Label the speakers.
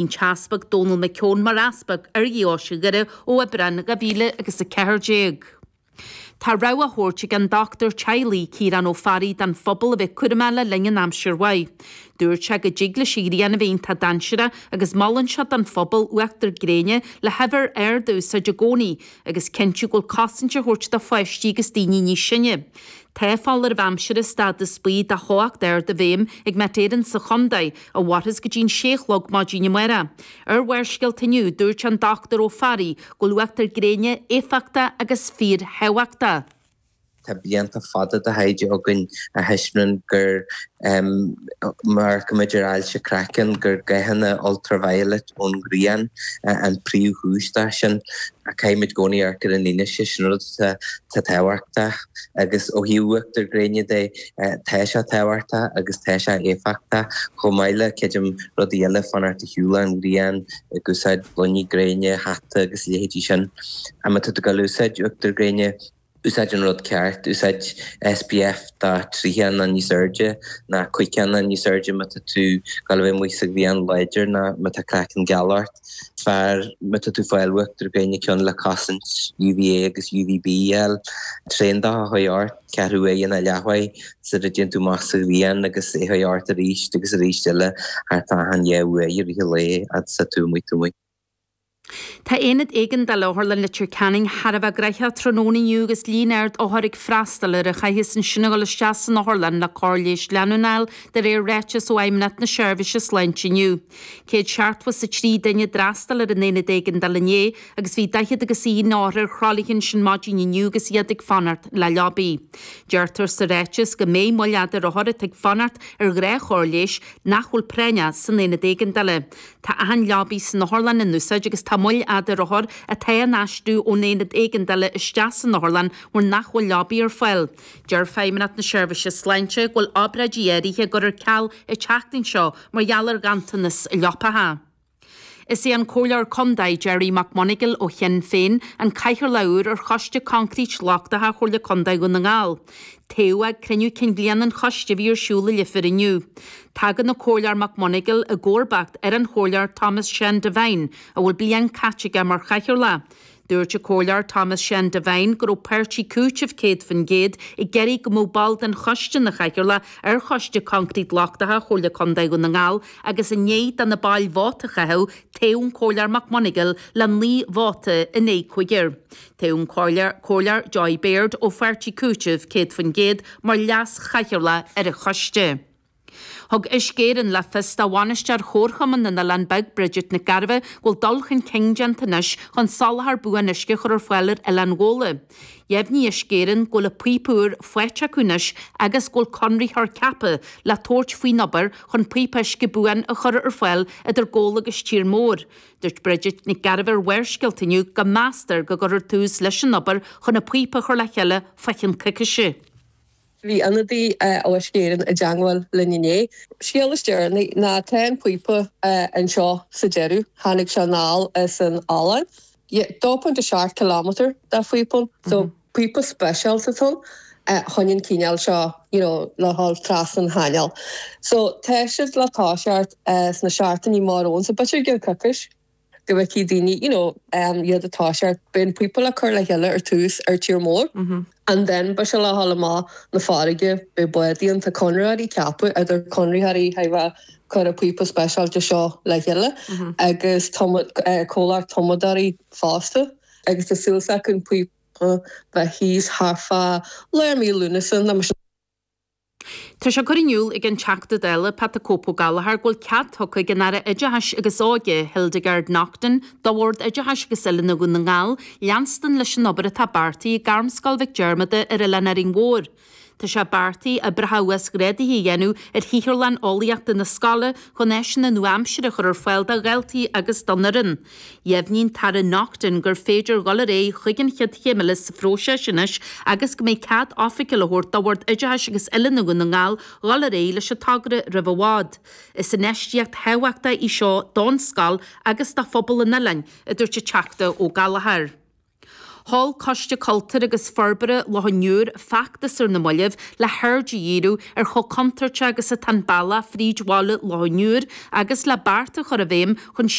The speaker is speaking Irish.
Speaker 1: An tEaspag Dónal McKeown mar Easpag ar Dheoise Dhoire ó Aibreán 2014. Tá rabhadh á thabhairt ag an dochtúir teaghlaigh, Ciarán Ó Fearraigh don phobal a bheith cúramach le linn an aimsir mhaith. Dúirt sé go dtig leis an ghrian a bheith iontach dainséarach agus molann sé don phobal uachtar gréine le huimhir ard a úsáid i gcónaí agus cinntiú go bhfuil cosaint á thabhairt do pháistí agus daoine níos sine. Tá foláireamh aimsire stádas buí de theocht ard i bhfeidhm ag Met Éireann sa chontae, a mhairfeas go dtí an sé a chlog maidin amárach. Ar Bharrscéalta inniu, dúirt an Dr Ó Fearraigh go bhfuil uachtar gréine éifeachtach agus fíorthábhachtach.
Speaker 2: Tá blianta fada de thaighde againn a thaispeánann gur, má amharcaimid ar ailse craicinn, gur gathanna ultraviolet ón ghrian an príomhchúis dó sin. Caithfimid i gcónaí amharc ar an fhianaise, sin rud atá tábhachtach. Agus ó thaobh uachtar gréine de, tá sé tábhachtach agus tá sé éifeachtach, chomh maith le, creidim, rudaí eile, fanacht ar shiúl ón ghrian, ag úsáid gloiní gréine, hata agus a leithéidí sin. Má tá tú ag dul a úsáid uachtar gréine, úsáid an rud ceart, úsáid SPF de 30 nó níos airde, nó 50 nó níos airde má tá tú ag dul a bheith amuigh sa ghrian láidir nó má tá craiceann geal ort. Is fearr má tá tú ag fáil uachtar gréine ceann le cosaint UVA agus UVB a fháil. Tréan de a chur ort, ceathrú uaire nó leathuair sula dtéann tú amach sa ghrian agus é a chur ort arís agus arís eile thart fá achan dhá uair i rith an lae fhad is atá tú amuigh.
Speaker 1: Tá Aonad Éigeandála Otharlann Leitir Ceanainn thar a bheith gnoitheach tráthnóna inniu agus líon ard othar ag freastal air a chaithfeas ansin a dhul isteach san otharlann le cóir leighis leanúnach a fháil de réir ráiteas ó Fheidhmeannacht na Seirbhíse Sláinte inniu. 173 duine a d'fhreastail ar an Aonad Éigeandála inné agus bhí 40 agus 1 othar ar thralaithe ansin maidin inniu agus iad ag fanacht le leabaí. Deirtear sa ráiteas go mbeidh moill fhada ar othair atá ag fanacht ar ghnáthchóir leighis nach bhfuil práinneach san Aonad Éigeandála. Tá achan leabaí san otharlann in úsáid agus tá moill fhada ar othair atá á n-aistriú ón aonad éigeandála isteach san otharlann mar nach bhfuil leabaí ar fáil. Deir Feidhmeannacht na Seirbhíse Sláinte go bhfuil obráidí áirithe á gcur ar ceal an tseachtain seo mar gheall ar ghanntanas leapacha. Is é an Comhairleoir Contae Gerry McMonagall ó Shinn Féin an cathaoirleach úr ar Choiste Coincreít Lochtacha Chomhairle Contae Dhún na nGall. Toghadh ag cruinniú cinn bhliana an choiste a bhí ar siúl i Leifear inniu. Tagann an Comhairleoir McMonagall i gcomharbacht ar an Chomhairleoir Thomas Seán Devine, a bhfuil bliain caite aige mar chathaoirleach. Dúirt an Comhairleoir Thomas Seán Devine go raibh páirtí Cúiteamh 100% ag iarraidh go mbeadh ball den choiste ina chathaoirleach ar Choiste Coincreít Lochtacha Chomhairle Contae Dhún na nGall agus i ndiaidh do na baill vóta a chaitheamh, toghadh an Comhairleoir McMonagall le 9 vóta in aghaidh cúigir. Toghadh an Comhairleoir Joy Baird ó pháirtí Cúiteamh 100% mar leas-chathaoirleach ar an choiste. Thug Uisce Éireann le fios do bhainisteoir Chomharchumann na nOileán Beag, Bridget Nic Gairbheith, go bhfuil dul chun cinn déanta anois chun soláthar buan uisce a chur ar fáil ar Oileán Ghabhla. Dheimhnigh Uisce Éireann go bhfuil an píopa úr faighte acu anois agus go bhfuil conraitheoir ceaptha le tabhairt faoin obair chun píopa uisce buan a chur ar fáil idir Gabhla agus Tír Mór. Dúirt Bridget Nic Gairbheith ar Bharrscéalta inniu go meastar go gcuirfear tús leis an obair chun an píopa a chur le chéile fá cheann coicíse.
Speaker 3: Bhí ionadaí ó Uisce Éireann i dteangmháil linn inné. Scéal is deireanaí ná tá an píopa anseo sa deireadh. Tháinig sé anall as an Ollainn. 2.7 kilometre de phíopa ann. So píopa speisialta atá ann chun an cineál seo you know le dhul trasna an chainéil. So tá siad le toiseacht sna seachtainí amach romhainn so b'fhéidir i gceann coicís go bhfeicfidh daoine you know iad ag toiseacht. Beidh an píopa le cur le chéile ar tús ar Tír Mór and then beidh sé le dhul amach na farraige, beidh bádaí ann, tá conraitheoirí ceaptha idir conraitheoirí a bheidh cur an píopa speisialta seo le chéile agus comhlacht tumadóirí fosta agus tá súil s'acu an píopa bheith thíos thart fá lár mí Lúnasa nó mar sin.
Speaker 1: Tá sé curtha in iúl ag an Teachta Dála, Pat 'The Cope' Ó Gallchóir, go bhfuil cead tugtha ag an Aire Oideachais agus Óige, Hildegarde Naughton, do Bhord Oideachais agus Oiliúna Dhún na nGall leanstan leis an obair atá beartaithe ag Gairmscoil Mhic Diarmada ar Oileán Árainn Mhór. Tá sé beartaithe oibreacha uasghrádaithe a dhéanamh ar shaotharlann eolaíochta na scoile chun áiseanna nua-aimseartha a chur ar fáil do dhaltaí agus don fhoireann. Dheimhnigh an tAire Naughton gur féidir dhul ar aghaidh chuig an chéad chéim eile sa phróiseas anois agus go mbeidh cead oifigiúil á thabhairt do Bhord Oideachais agus Oiliúna Dhún na nGall dhul ar aghaidh leis an togra roimh i bhfad. Is infheistíocht thábhachtach í seo don scoil agus do phobal an oileáin, a dúirt an Teachta Ó Gallchóir. Sheol Coiste Cultúir agus Forbartha Loch an Iúir feachtas ar na mallaibh le haird a dhíriú ar chomh contúirteach agus atá an bealach fríd bhaile Loch an Iúir agus le bearta a chur i bhfeidhm chun.